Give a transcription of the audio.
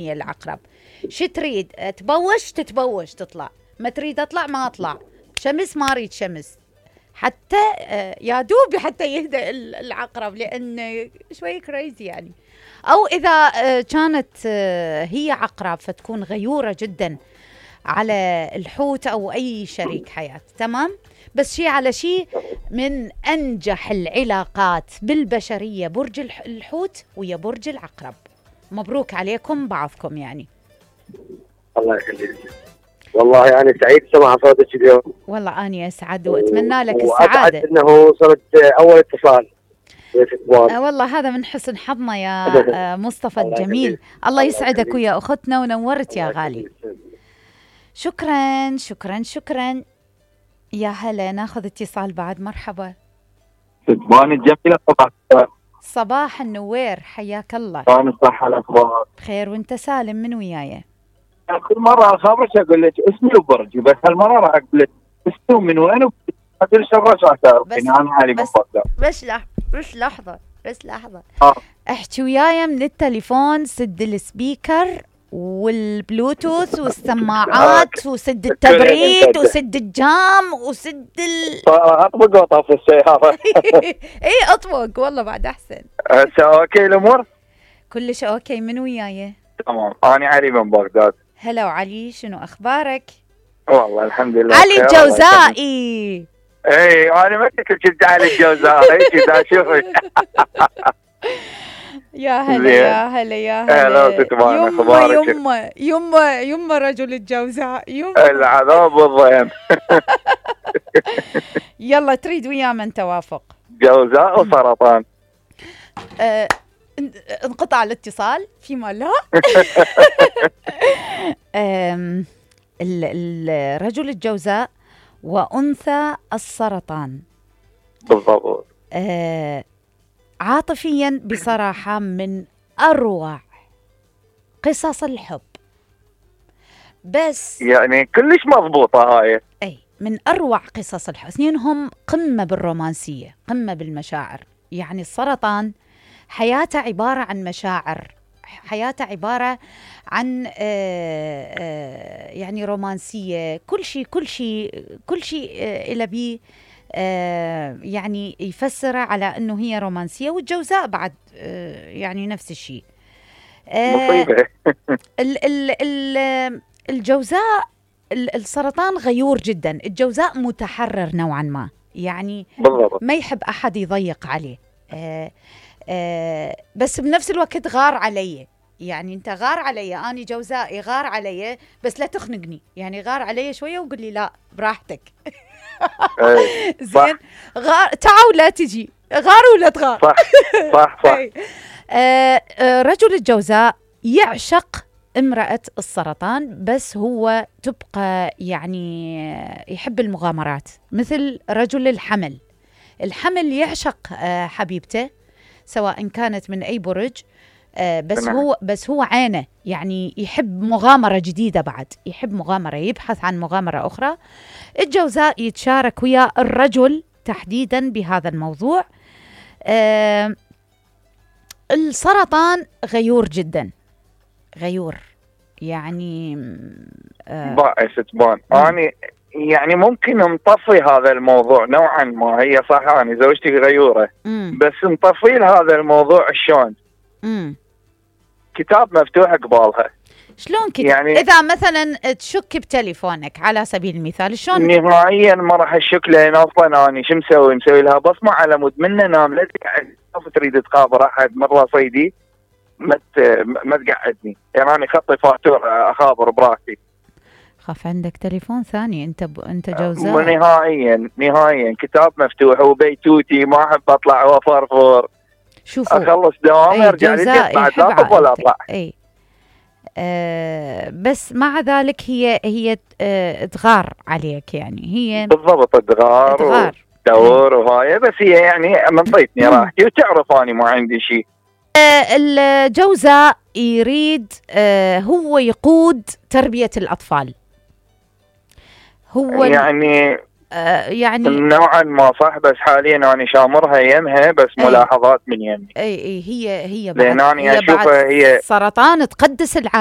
هي العقرب. شو تريد؟ تبوش تتبوش تطلع، ما تريد اطلع ما اطلع، شمس ما اريد شمس. حتى يا دوب حتى يهدأ العقرب، لان شوي كريزي يعني. او اذا كانت هي عقرب فتكون غيورة جدا على الحوت او اي شريك حياة. تمام. بس شي على شي، من انجح العلاقات بالبشرية برج الحوت ويا برج العقرب. مبروك عليكم بعضكم يعني. الله يخليك. والله يعني سعيد سمع صوتك اليوم. والله أنا أسعد وأتمنى لك السعادة. إنه صرت أول اتصال. والله هذا من حسن حظنا يا مصطفى الجميل. الله يسعدك ويا أختنا ونورت يا غالي. شكرا شكرا شكرا. يا هلا، ناخذ اتصال بعد. مرحبا. ستبان الجميلة. صباح النوير، حياك الله. كان الصحة الأخبار بخير وانت سالم؟ من وياي؟ كل مرة أخبرك أقول لك اسمي وبرجي، بس هالمرة راح أقول لك اسمي ومن وين وأقول لك الرش تعرفين أنا علي من بغداد. بس لحظة احكي وياي من التليفون، سد السبيكر والبلوتوث والسماعات وسد التبريد وسد الجام وسد أطبق وطاف السيارة. اي اطبق والله بعد احسن. اوكي الامور كلش اوكي. من وياي؟ تمام. انا علي من بغداد. هلا وعلي، شنو اخبارك؟ والله الحمد لله. علي الجوزائي. اي انا ما كنت علي الجوزائي كذا شوفي. يا هلا يا هلا يا هلا. يما رجل الجوزاء. العذاب والضيم. يلا تريد ويا من توافق؟ جوزاء وسرطان. انقطع الاتصال فيما لا. الرجل الجوزاء وأنثى السرطان. بالضبط. عاطفيا بصراحة من أروع قصص الحب، بس يعني كلش مضبوطة هاي. أي من أروع قصص الحب. اثنينهم قمة بالرومانسية، قمة بالمشاعر. يعني السرطان حياته عبارة عن مشاعر، حياته عبارة عن يعني رومانسية. كل شيء إلى بيه يعني يفسر على أنه هي رومانسية. والجوزاء بعد يعني نفس الشيء. مصيبة. الجوزاء السرطان غيور جدا. الجوزاء متحرر نوعا ما، يعني بالضبط. ما يحب أحد يضيق عليه. بس بنفس الوقت غار علي. يعني انت غار علي، اني جوزائي غار علي، بس لا تخنقني. يعني غار علي شويه وقول لي لا براحتك. زين. غار تعال ولا تجي، غار ولا تغار. صح. رجل الجوزاء يعشق امرأة السرطان، بس هو تبقى يعني يحب المغامرات. مثل رجل الحمل يعشق حبيبته سواء كانت من أي برج. بس هو عينه يعني يحب مغامرة جديدة، بعد يحب مغامرة، يبحث عن مغامرة أخرى. الجوزاء يتشارك ويا الرجل تحديدا بهذا الموضوع. السرطان غيور جدا، غيور يعني ستبان. أنا يعني ممكن نطفي هذا الموضوع نوعا ما. هي صح أنا زوجتي غيورة، بس نطفي هذا الموضوع شلون؟ كتاب مفتوح قبالها. شلون كتاب؟ يعني إذا مثلا تشك بتليفونك على سبيل المثال، شلون؟ نهائيا ما راح اشك، لان اصلا اني شو مسوي لها بصمة على مود منه نام. لا تقعد تريد تخابر احد من رصيدي، ما تقعدني. يعني انا خطي فاتوره اخابر براحتي. خاف عندك تليفون ثاني. انت جوزاء. نهائيا كتاب مفتوح وبيتوتي. ما احب اطلع وفرفور. شوفوا، اخلص دوام ارجع لي بعد لا اطلع ولا اطلع. اي بس مع ذلك هي تغار عليك. يعني هي بالضبط تغار ودور وهاي. بس هي يعني منطيتني راحتي وتعرف اني ما عندي شيء. الجوزاء يريد هو يقود تربية الأطفال. هو يعني يعني نوعا ما صح، بس حاليا انا شامرها يمها، بس ملاحظات من يمي. اي هي بعد لان انا اشوفها هي سرطان تقدس العائله.